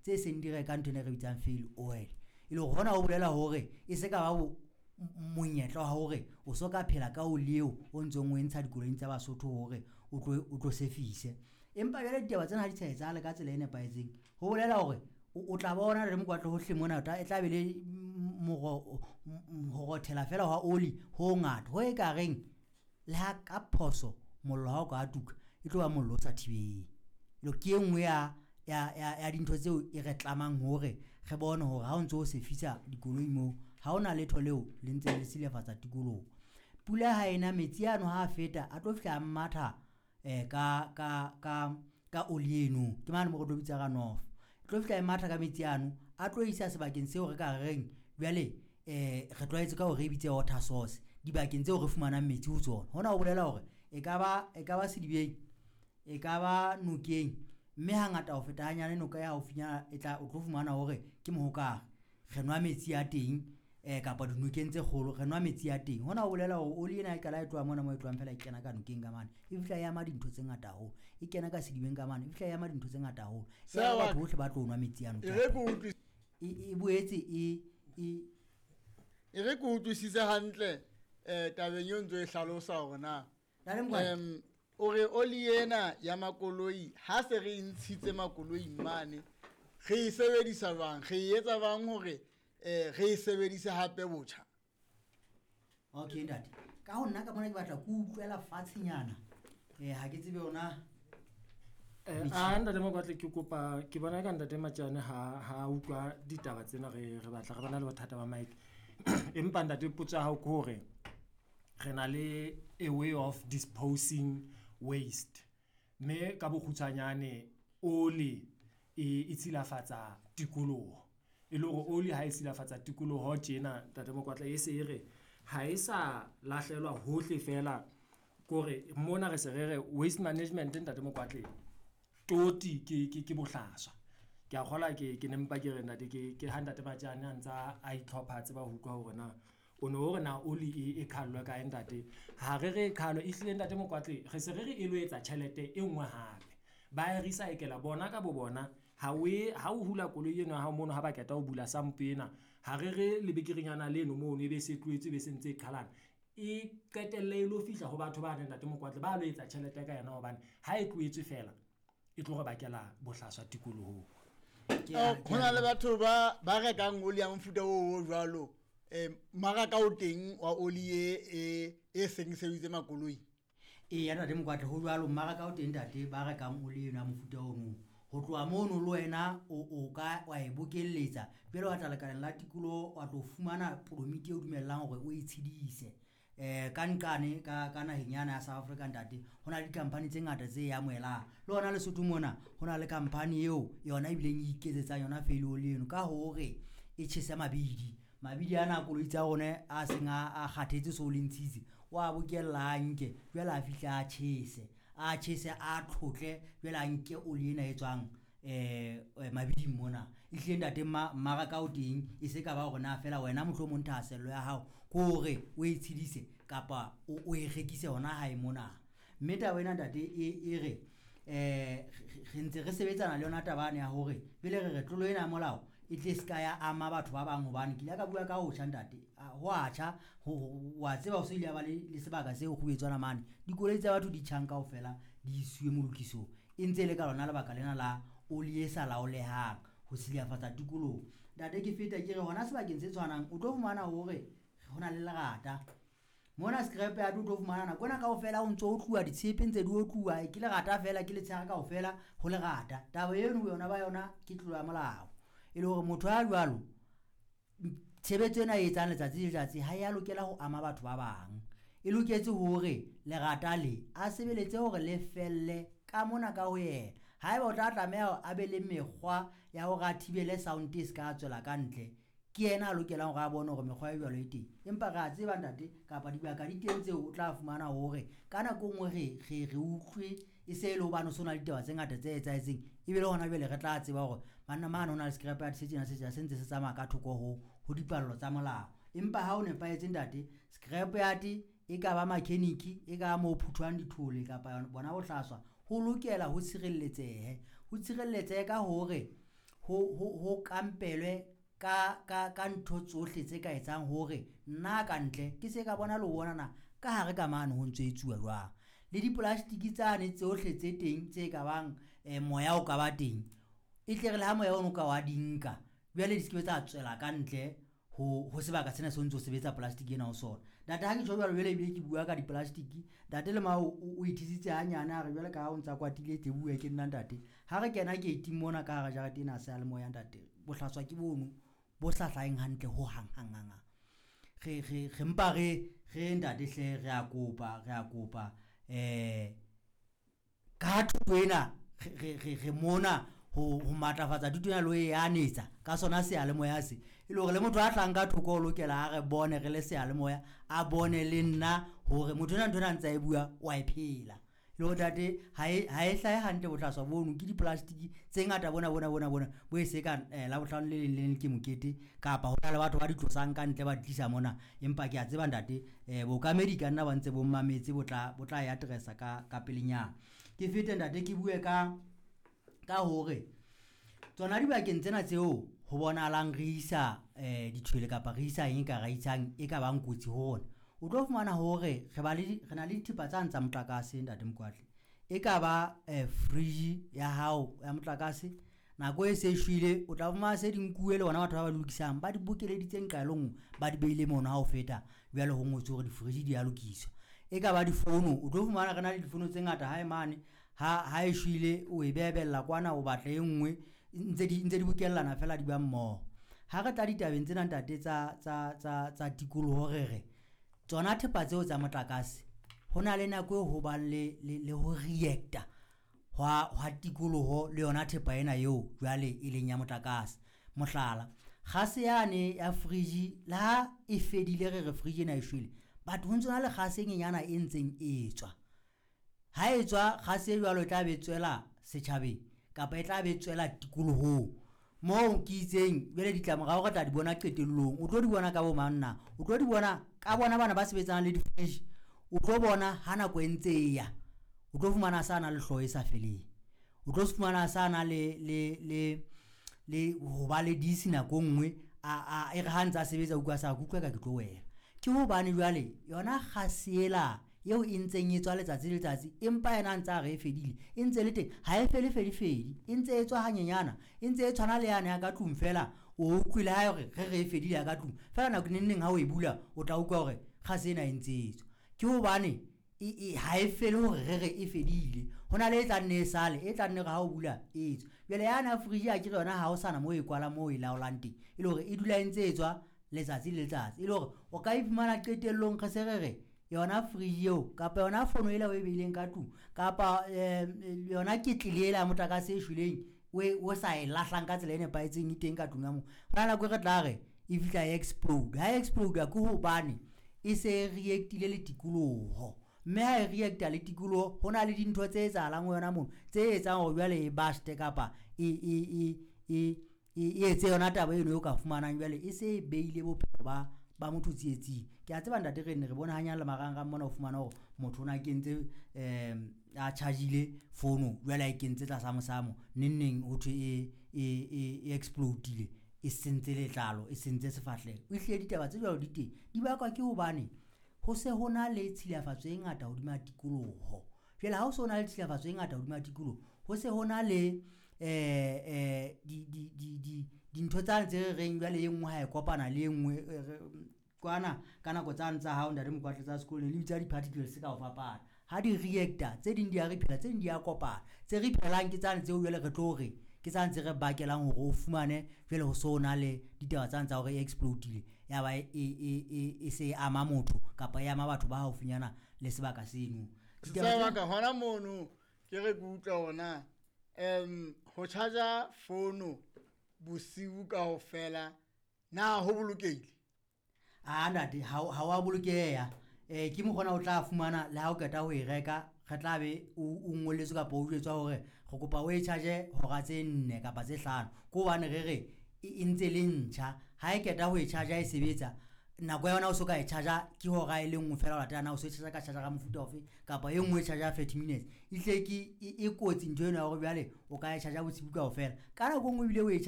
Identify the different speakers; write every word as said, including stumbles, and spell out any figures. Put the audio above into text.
Speaker 1: tse seng di reka ntho ena e re bitsang fail oil. E le hore hona ho bolela hore e se ka ba monyetla wa hore o so ka phela ka oli eo o ntsong o e ntsha dikoloing tsa Basotho hore o tlo o tlo sefise. Empa jwale ditaba tsena ha di sa etsahale ka tsela e nepahetseng, ho bolela hore o tla bona le mokwatlo hohle mona e tla be le ho rothela fela hwa oli ho ngata ho e ka reng le ha ka phoso mollo ha o ka tuka e tlo ba mollo o sa thibeng. Ke e nngwe ya ya ya ya dintho tseo e re tlamang hore re bone hore ha o ntso o sefisa dikoloi moo ha hona letho leo le ntse le silafatsa tikoloho. Pula ha ena metsi ano ha a feta a tlo fihla a matha eh ka ka ka ka oli eno, ke mane mo re tlo bitsa runoff. E tlo fihla e matha ka metsi ano a tlo isa sebakeng seo re ka reng jwale eh re tlwaetse ka hore re bitse water source, dibakeng tseo re fumanang metsi ho tsona. Hona ho bolela hore e ka ba e ka ba sedibeng, e ka ba nokeng, mme hangata ho feta hanyane noka ya haufinyana e tla o tlo fumana hore ke mohokare re nwa metsi a teng eh kapa dinokeng tse kgolo re nwa metsi a teng. Hona ho bolela hore oli ena e qala e tloha mona mo e tlohang fela e kena ka nokeng ka mane, e fihla e ama dintho tse ngata haholo, e kena ka sedibeng ka mane, e fihla e ama dintho tse ngata haholo.
Speaker 2: Seo
Speaker 1: Batho bohle ba tlo nwa metsi ano.
Speaker 2: E re ke utlwi-
Speaker 1: E e boetse e e
Speaker 2: e re ke utlwisise hantle eh tabeng eo ntso e hlalosa hore na
Speaker 1: Ntate Mokwatlo.
Speaker 2: em o re oli ena ya makoloi ha se re e ntshitse makoloing mane re e sebedisa jwang, re e etsa jwang hore eh re e sebedise hape botjha?
Speaker 1: Okay ntate, ka ho nna ka mona ke batla ke utlwela fatshenyana eh ha ke tsebe yona.
Speaker 3: Eh, a ntate Mokwatle, ke kopa ke bona ka ntate Matjane ha ha utlwa ditaba tsena re re batla re bana le bothata ba mic. Empa ntate potso ya hao ke hore re na le a way of disposing waste, mme ka bokgutshwanyane oli e e tshilafatsa tikoloho. E le hore oli ha e silafatsa tikoloho tjena ntate Mokwatle, e se e re ha e sa lahlelwa hohle fela, kore mona re se re re waste management ntate Mokwatle toti ke ke ke bohlaswa. Ke a kgola ke ke ne mpa ke re ntate ke ke ha ntate Matjane a ntsa a itlhopha a tseba ho utlwa hore na o no hore na oli e e qhallwe kae ntate. Ha re re e qhallwe ehlile ntate Mokwatle re se re re e lo etsa tjhelete e nngwe hape. Ba e recycle bona ka bo bona. Ha o e ha o hula koloi eno ya hao mono ha ba qeta ho bula sampo ena, ha re re lebekerenyana leno mono ebe se tlohetswe ebe se ntse e qhalana, e qetelle e lo fihla ho batho ba ntate Mokwatle ba lo etsa tjhelete ka yona, hobane ha e tlohetswe fela e tlo re bakela bohlaswa tikolohong.
Speaker 1: Ke a-
Speaker 2: Ho na le batho ba ba rekang oli ya mofuta oo o jwalo, eh mmaraka o teng wa oli e e e seng sebeditse makoloi.
Speaker 1: Eya ntate Mokwatle, ho jwalo mmaraka o teng ntate ba rekang oli eno ya mofuta ono. Ho tloha mono le wena o o ka wa e bokelletsa jwale wa tla lekaleng la tikoloho wa tlo fumana permit e o dumellang hore o e tshedise. Eh ka nqane ka ka naheng yana ya South Africa ntate ho na le di-company tse ngata tse e amohelang. Le hona Lesotho mona ho na le company eo yona ebileng e iketsetsang yona fail oli eno ka hore e tjhese mabidi. Mabidi ana a koloi tsa rona a seng a a kgathetse so le ntshitse o a bokella a nke jwale a fihla a tjhese, a tjhese a tlhotle jwale a nke oli ena e tswang eh mabiding mona. Ehlile ntate mmaraka o teng e se ka ba hore na fela wena mohlomong thahasello ya hao ke hore o e tshedise kapa o o e rekise hona hae mona. Mme taba ena ntate e e re eh re ntse re sebetsana le yona taba ane ya hore pele re re tlolo ena ya molao e tle se ka ya ama batho ba bang, hobane ke ile ka bua ka ho tjha ntate, ho a tjha wa tseba ho se ile ya ba le le sebaka seo kgubetswana mane dikoloi tsa batho di tjhang kaofela di isiwe molokisong, e ntse e le ka lona lebaka lena la oli e sa laolehang ho silafatsa tikoloho. Ntate ke feta ke re hona sebakeng se tshwanang o tlo fumana hore ho na le lerata mona scrap yard, o tlo fumana nako ena kaofela o ntso o tluwa ditshepe ntse di otluwa ke lerata fela ke letshehare kaofela ho lerata. Taba eno yona ba yona ke tlolo ya molao, e le hore motho ya jwalo tshebetso ena e etsang letsatsi le letsatsi ha ya lokela ho ama batho ba bang, e loketse hore lerata le a sebeletse hore le felle ka mona ka ho yena. Haeba o tla tlameha a be le mekgwa ya hore a thibele sound e se ka tswela ka ntle, ke yena a lokelang hore a bone hore mekgwa e jwalo e teng. Empa re a tseba ntate kapa dibaka di teng tseo o tla fumana hore ka nako e nngwe re re re utlwe e se e le hobane ho so na le ditaba tse ngata tse etsahetseng, ebile hona jwale re tla tseba hore banna mane ho na le scrap yard se tjena se tjena se ntse se tsamaya ka thoko ho ho dipallo tsa molao. Empa ha o nepahetse ntate, scrap yard e ka ba mechanic, e ka ba mo phuthwang dithole kapa bona bohlaswa, ho lokela ho tshireletsehe, ho tshireletsehe ka hore ho ho ho kampelwe ka ka ka ntho tsohle tse ka etsang hore nna ka ntle ke se ka bona le ho bona na ka hare ka mane ho ntso etsuwa jwang. Le di-plastic tsane tsohle tse teng tse ka bang eh, moya o ka ba teng, e tle re le ha moya ono ka wa di nka jwale di se ke be tsa tswela ka ntle ho ho sebaka sena se o ntso sebetsa plastic ena ho sona. Ntate ha ke tjho jwalo jwale ebile ke bua ka di-plastic, ntate le mao o ithusitse hanyane a re jwale ka ha o ntsa kwatile tle bue ke nna ntate. Ha re kena gate mona ka hara jarete ena seyalemoya ntate, bohlaswa ke bono bo sa hlaheng hantle ho hang hang hang hang. Re re re mpa re re ntate hle re a kopa re a kopa eh ka thuto ena re re re mona ho ho matlafatsa thuto ena le ho e anetsa ka sona seyalemoya se. E le hore le motho a tlang ka thoko o lokela a re bone re le seyalemoya, a bone le nna hore motho ena ntho ena a ntse a e bua wa e phela. Le hore ntate ha e ha e hlahe hantle bohlaswa bono ke di-plastic tse ngata bona bona bona bona bo e se ka eh, Labohlano le leng le leng ke mokete kapa ho na le batho ba di tlosang ka ntle ba di tlisa mona. Empa ke a tseba ntate eh, bookamedi ka nna ba ntse bo mmametse bo tla bo tla e address-a ka ka pelenyana. Ke fete ntate ke bue ka ka hore tsona dibakeng tsena tseo ho bonahalang re isa eh dithwele kapa re isa eng ka ra isang e ka bang kotsi ho rona. O tlo fumana hore re ba le re na le dithepa tsane tsa motlakase ntate Mokoatle. E ka ba eh, fridge ya hao ya motlakase nako e se shwele o tla fumana se di nkuwe le bona batho ba ba di lokisang ba di bokeleditse nqa e le nngwe ba di beile mono ha o feta jwale ho ngotswe hore di-fridge di a lokiswa. E ka ba difono o tlo fumana re na le difono tse ngata hae mane ha ha e shwele o e bebella kwana o batla e nngwe ntse di ntse di bokellana fela di ba mmoho. Ha re tla ditabeng tsena ntate tsa tsa tsa tsa tikoloho re re tsona thepa tseo tsa motlakase ho na le nako eo ho bang le le le ho react-a hwa hwa tikoloho le yona thepa ena eo jwale e leng ya motlakase. Mohlala, kgase yane ya fridge le ha e fedile re re fridge ena e shwele, but ho ntso na le kgase e nyenyana e ntseng e tswa. Ha e tswa kgase e jwalo e tla be tswela setjhabeng kapa e tla be tswela tikolohong. Moo ke itseng jwale ditlamorao re tla di bona qetellong. O tlo di bona ka bo mang na? O tlo di bona ka bona bana ba sebetsanang le di-fridge. O tlo bona ha nako e ntse e ya, o tlo fumana sa na le hlooho e sa feleng. O tlo fumana sa na le le le le ho ba le disi nako e nngwe a a e re ha ntse a sebetsa o utlwa sa ke utlwa ka ke tlo wela. Ke hobane jwale yona kgase ela eo e ntseng e tswa letsatsi le letsatsi empa yena a ntse a re e fedile e ntse le teng ha e fele fele fedi e ntse e tswa hanyenyana e ntse e tshwana le yane ya ka tlung fela o utlwile ha hore re re e fedile ya ka tlung fela nako neng neng ha o e bula o tla utlwa hore kgase ena e ntse e tswa. Ke hobane e e ha e fele hore re re e fedile ho na le e tla nne e sale e tla nne re ha o bula e tswa. Jwale yana ya fridge akere yona ha o sana moo e kwala moo e laolang teng e le hore e dula e ntse e tswa letsatsi le letsatsi e le hore o ka iphumana qetellong re se re re yona fridge eo kapa yona fono ela o e beileng ka tlung kapa eh, yona ketlele ela ya motlakase e shweleng o e- o sa e lahlang ka tsela e nepahetseng e teng ka tlung ya moo. Ho na nako e re tla re e fihla e explode. Ha e explode ke hobane e se e react-ile le tikoloho, mme ha e react-a le tikoloho ho na le dintho tse etsahalang ho yona mono tse etsang hore jwale e burst-e kapa e e e e e etse yona taba eno eo ka fumanang jwale e se e beile bophelo ba ba motho tsietsing. Ke a tseba ntate re ne re bone hanyane le marangrang mona o fumana hore motho o na kentse um a charge-ile fono jwale a e kentse tlasa mosamo neng neng ho thwe e e e e explode-ile e sentse letlalo e sentse sefahleho. Ehlile ditaba tse jwalo di teng di bakwa ke hobane ho se ho na le tshilafatso e ngata hodima tikoloho. Jwale ha ho so na le tshilafatso e ngata hodima tikoloho ho se ho na le eh eh di di di di dintho tsane tse re reng jwale e nngwe ha e kopana le e nngwe kwana ka nako tsane tsa hao ntate Mokwatle tsa sekolo le bitsa di-particles ka ho fapana. Ha di react-a tse ding di a rephela tse ding di a kopana. Tse rephelang ke tsane tseo jwale re tlo re ke tsane tse re bakelang hore o fumane jwale ho so na le ditaba tsane tsa hore e explode-ile ya ba e e e e se e ama motho kapa e ama batho ba haufinyana le sebaka seno. Ditaba
Speaker 2: Sa
Speaker 1: tsena-
Speaker 2: baka hona mono ke re ke utlwa hona um ho charge-a fono bosiu kaofela na ho bolokehile?
Speaker 1: Ah ntate ha o- ha wa bolokeha. Eh ke mokgona o tla fumana le ha o qeta ho e reka re tla be o o ngolletswe kapa o jwetswa hore re kopa o e charge hora tse nne kapa tse hlano. Ke hobane re re e e ntse le ntjha ha e qeta ho e charge e sebetsa nako ya yona o so ka e charge ke hora e le nngwe fela ho latela na o so e charge ka charger ka mofuta ofe kapa e nngwe e charge thirty minutes. Ehlile ke e e kotsi ntho eno ya hore jwale o ka e charge bosiu kaofela. Ka nako e nngwe ebile o e charge